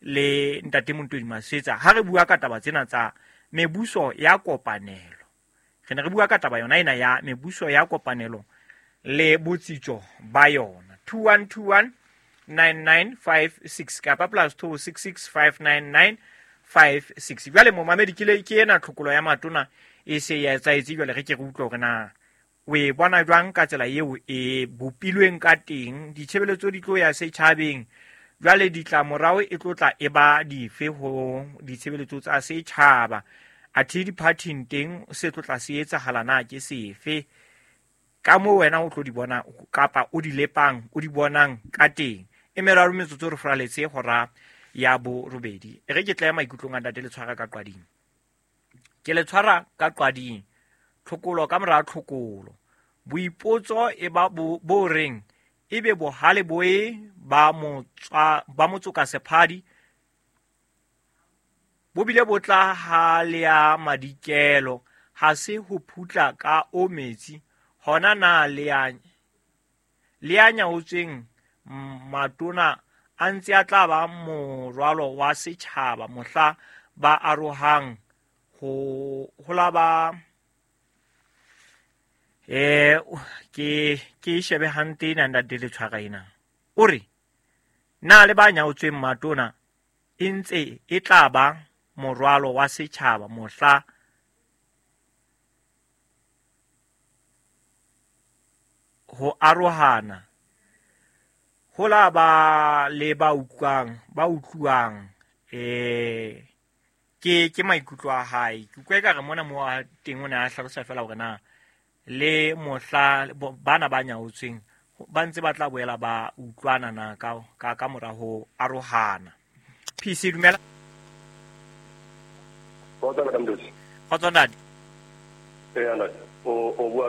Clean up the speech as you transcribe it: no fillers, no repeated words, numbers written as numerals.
Le ntate Montodi Masetsa ha re bua ka taba tsena tsa mebuso ya kopanelo. Re ne re bua ka taba yona ena ya mebuso ya kopanelo le botsitso ba yona. 2121 9956 kapa plus 266 59956. Jwale momamedi ke le ke ena tlhokolo ya matona e se ya etsaetse, jwale re ke re utlwe hore na o e bona jwang ka tsela eo e bopilweng ka teng. Ditshebeletso di tlo ya setjhabeng, jwale ditlamorao e tlo tla e ba dife ho ditshebeletso tsa setjhaba? Athe diphathing teng se tlo tla se etsahala na ke sefe? Ka moo wena o tlo di bona kapa o di lepang, o di bonang ka teng. E meraro metsotso re furaletse hora ya 8. E re ke tle maikutlong a ntate le tshwara ka qwading. Ke le tshwara ka qwading, tlhokolo ka mora tlhokolo. Boipotso e ba bo reng ebe bohale boe ba motswa ba motsoka sephadi bo bile bo tla ha le ya madikelo, ha se ho phutla ka o metsi hona na le ya nyaotsweng matona a ntse a tla ba morwalo wa setjhaba mohla ba arohang ho la ba ke shebe hantle ena ntate le tshwara ena. O re na le ba nyaotsweng matona e ntse e tla ba morwalo wa setjhaba mohla ho arohana ho la ba le ba utlwang ke maikutlo a hae. Ke utlwa ekare mona mo a teng o ne a hlalosa fela hore na le mohla bana ba nyaotsweng ba ntse ba tla boela ba utlwana na ka mora ho arohana. PC dumela. Kgotso ntate. O bua